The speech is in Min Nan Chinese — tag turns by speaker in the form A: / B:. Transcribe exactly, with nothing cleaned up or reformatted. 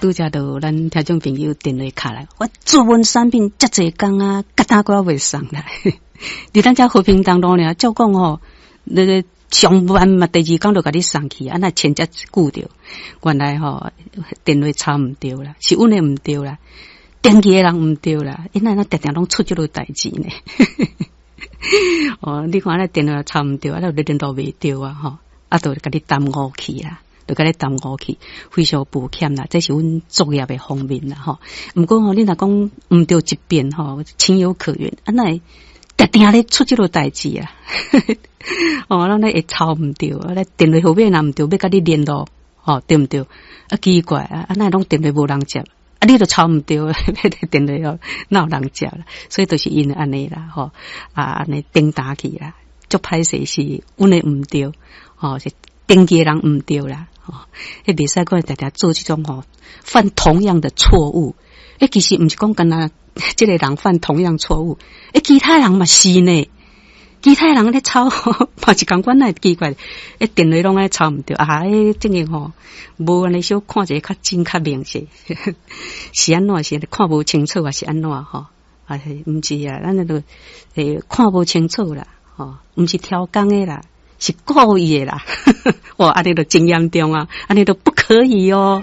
A: 拄才就咱聽眾朋友電話敲來，我做阮產品遮濟工啊，結單閣未送來。佇咱遮和平東路爾，照講吼，那個上慢嘛，第二工就共你送去，啊，若簽遮久著，原來吼電話抄毋著啦，是阮的毋著啦，登記的人毋著啦，𪜶哪會定定攏出這個代誌呢？哦，你看咱電話抄毋著，啊，就聯絡袂著啊，吼，啊，就共你耽誤去啦。就共你耽誤去，非常抱歉啦，這是阮作業的方面啦，吼。毋過吼，你若講毋著一遍吼，情有可原。啊，哪會定定咧出這個代誌啊？哦，咱咧會抄毋著，啊，咧電話號碼若毋著，欲共你聯絡，吼，對毋對？啊，奇怪啊，啊，哪會攏電話無人接？啊，你都抄毋著，電話哦，哪有人接啦？所以就是因為按呢啦，吼，啊，按呢頂打去啦，足歹勢是阮的毋著，吼，是登記的人毋著啦。哦，彼袂使閣定定做這種吼犯同樣的錯誤。欸，其實毋是講干焦這個人犯同樣錯誤，欸，其他人嘛是呢。其他人咧抄嘛是仝款，會奇怪？欸，電話攏愛抄毋著啊！欸，這個吼無按呢小看一下較真較明顯，是按怎是看無清楚，還是按怎吼？啊，毋是啊，咱那個欸看無清楚啦，吼，毋是刁工的啦。是故意的啦，哇！按呢就真嚴重啊，按呢就不可以哦。